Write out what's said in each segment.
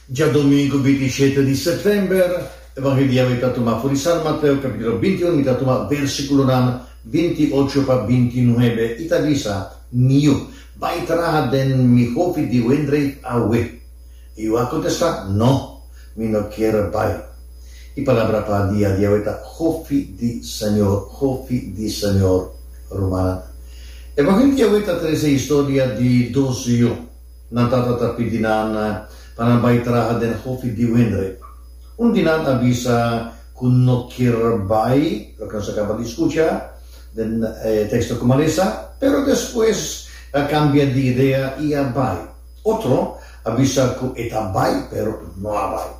Djadomingo 27 di sèptèmber, Evangelio di awe ta tuma for di San Mateo kapítulo 21, mi ta tuma versíkulonan 28 pa 29 i ta bisa, Mi yu, bai traha den mi hofi di wendreif awe. E yu a kontestá, No, mi no kier bai. E palabra pa dia di awe ta hofi di Señor, hofi di Señor. Rumannan, Evangelio di awe ta trese historia di dos yu. Nan tata ta pidi nan pa nan bai traha den hofi di wendreif. Un di nan a bisa ku no kier bai, loke nos a kaba di skucha den e teksto ku mi a lesa, pero despues a kambia di idea i a bai. Otro a bisa ku e ta bai, pero no a bai.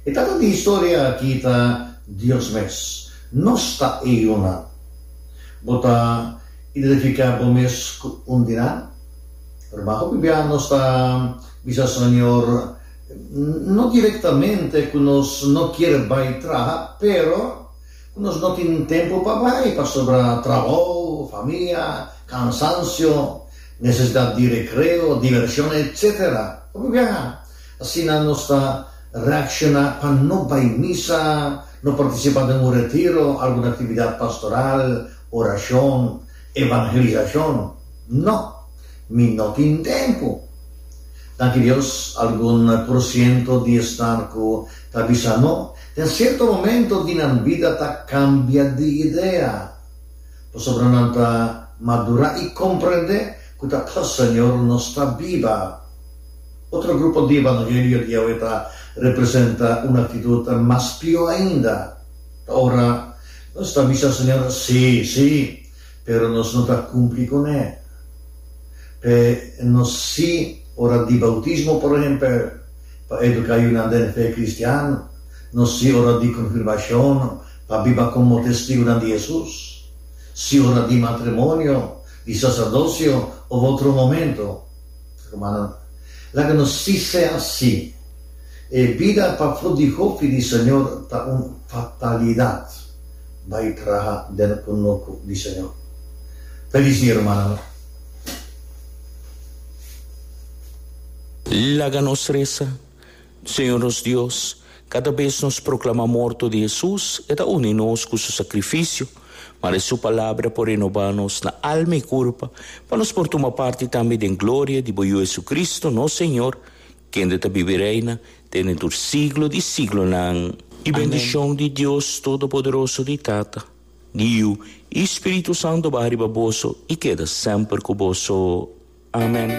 E tata di historia aki ta Dios mes. Nos ta e yunan. Bo ta identifiká bo mes ku un di nan? Ruman, hopi bia nos ta bisa Señor, no directamente cu nos no kier bay traha, pero cu nos no tin tempo pa bay pasobra trabou, famia, cansancio, necesidad di recreo, diversion, etc. Hopi biaha asina nos ta reacciona pa no bay misa, no participa den un retiro, algun actividad pastoral, oracion, Evangelisacion? No! Mi no tin tempu. Danki Dios, algun por ciento di esnan cu ta bisa no, den cierto momento di nan bida ta cambia di idea, pasobra nan ta madura y comprende cu ta pa Señor nos ta biba. Otro grupo di evangelio di awe ta representa un actitud mas pio ainda. Ta ora Nos ta bisa Señor, Sí, sí, pero nos no ta cumpli cuné. P'e nos sí ora di bautismo, por ehempel, pa educa yunan den fe cristian, nos sí ora di confirmacion, pa biba como testigonan di Jesus, sí ora di matrimonio, di sacerdocio of otro momento. Rumannan, laga nos sí sea sí. E bida pafó di hofi di Señor ta un fatalidad. Bai traha den kunuku di Señor. Felis dia rumannan. Laga nos resa. Señor nos Dios, kada bes nos proklama morto di Hesus, e ta uni nos ku su sakrifisio. Mare su Palabra por renobá nos na alma i kurpa, pa nos por tuma parti tambe den gloria di bo Yu Hesucristo, nos Señor, Kende ta biba i reina te den tur siglo di siglonan. I bendishon di Dios Todopoderoso, di Tata, di Yu i Spiritu Santu baha riba boso i keda semper ku boso. Amen.